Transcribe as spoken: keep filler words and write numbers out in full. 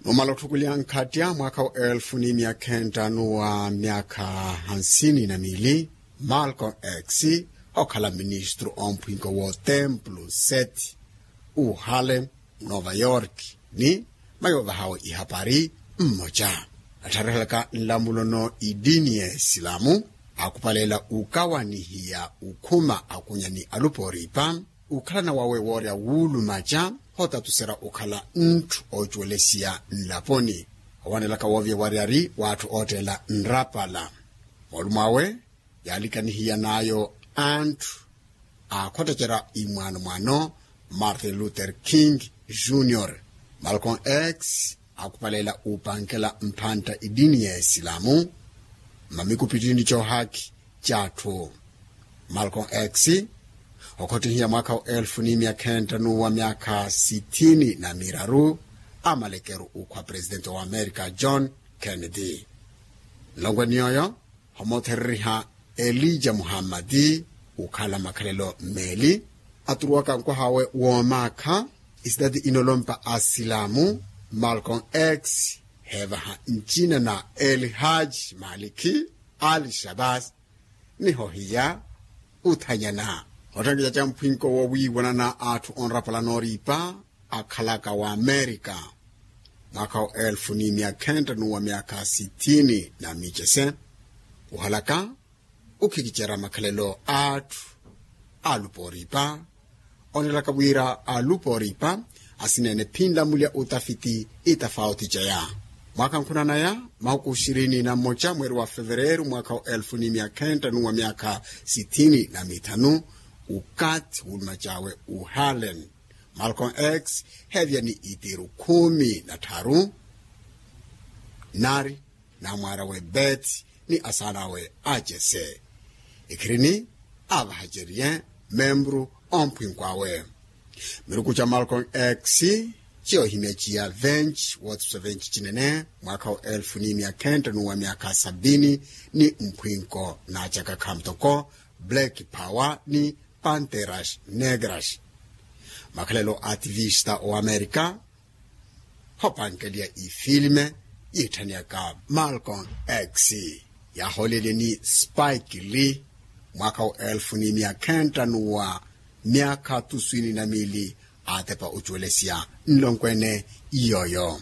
Numala otthukuliha nkhattya mwaakha wa elfu ni myaakha entta nuwa myaakha hansini na miili, malcom x okhala ministru omphwinko w'otempulu seti uhale nova york ni mayo ovahawe ihapari mmoca, attharihilaka nlamulono idini ya isilamu, akupaleela ukawanihiya ukhuma akunya ni alupa oripa, ukhalana wawe woorya wuulumaca hootatuserya okhala ntthu oocuwelesiya nlaponi, owanelaka woovya waryari w'atthu ootteela nrapala. Moolumo awe yaalikanihiyan'ayo antthu aakhottacerya imwaano mwaano martin luther king junior. Malcom x akupaleela upankela mphantta idini ya isilamu mmamikupittini coohakhi c'atthu. Malcom x okhottihiya mwaakha wa elfu ni myaakha entta nuwa myaakha sithini na miraru amalekeru ukhwa presitenti wa amerika john kennedy. Nlongwe ni yooyo homothereriha elija muhammadi ukhala makhalelo mmeeli aturuwaka nkwaha awe woomaakha. Isitati inolompa asilamu malcom x heevaha ncina na elhaj malikhi ali shabas niho hiya uthanyana. Otthankeca ca mphwinko wowiiwanana atthu onrapala nooripa akhalaka wa amerika mwaakha wa elfu ni myaakha entta nuwa myaakha sithini na micese uhalaka ukhikicerya makhalelo a atthu alupa oripa. Onelaka wira alupa oripa asineene phinla mulya utafiti itafauti ceya mwaakha nkhunanaya mahuku xirini na mmoca mweeri wa fevereeru mwaakha wa elfu ni myaakha entta nuwa myaakha sithini na mithanu. Ukathi wuuluma cawe uhalen malcom x heevya ni itiru khumi na tharu nari namwaar'awe beti ni asaan'awe acese ekhirini aavahaceriye membru omphwinko awe. Miruku ca malcom x ciyoohimya ciya venci woothisa venci cinene mwaakha wa elfu ni myaakha entta nuwa myaakha sabini ni mphwinko naacaka khamu toko black power ni panteras negras. Makhalelo a ativista o amerika hoopankeliya ifilme yiitthaniyaka malcom x yaahoolelye ni spike lee mwaakha wa elfu ni myaakha entta nuwa myaakha tuswini na miili aatepa ocuwelesiya nlonkwene iyooyo.